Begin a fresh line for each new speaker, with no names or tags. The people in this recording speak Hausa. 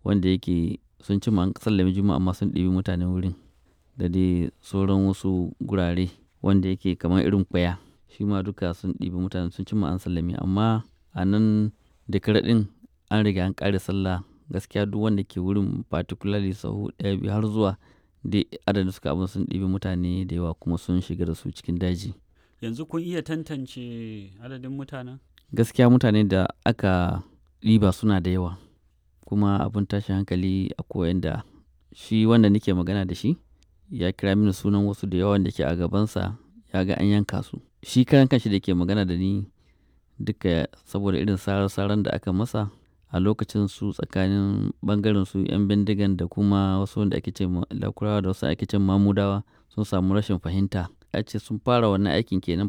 Wanda yake sun cimma an sallame Juma'a amma sun ɗibi mutanen wurin da dai sauran wasu gurare wanda yake kamar irin Kwaya. Shi ma duka sun ɗibi mutane, sun cimma an sallame, amma a nan Dekara ɗin an riga an ƙare sallah. Gaskiya duk wanda ke wurin, particularly sahu ɗaya, biyu har zuwa dai adadin suka abun, sun ɗibi mutane da yawa kuma sun shiga da su cikin daji.
Yanzu kun iya tantance adadin mutanen?
Gaskiya mutane da aka ɗiba suna da yawa, kuma abun tashin hankali akwai wanda shi wanda nake magana da shi ya kira mini sunan wasu da yawa wanda ke a gabansa ya ga an yanka su. Shi karan kanshi da ke magana da ni duka, saboda irin sarar-saran da aka masa a lokacin, su tsakanin ɓangaren su 'yan bindigan da kuma wasu wanda ake ce ma Lakurawa da wasu ake ce Mamudawa, sun samu rashin fahimta. A ce sun fara wannan aikin kenan.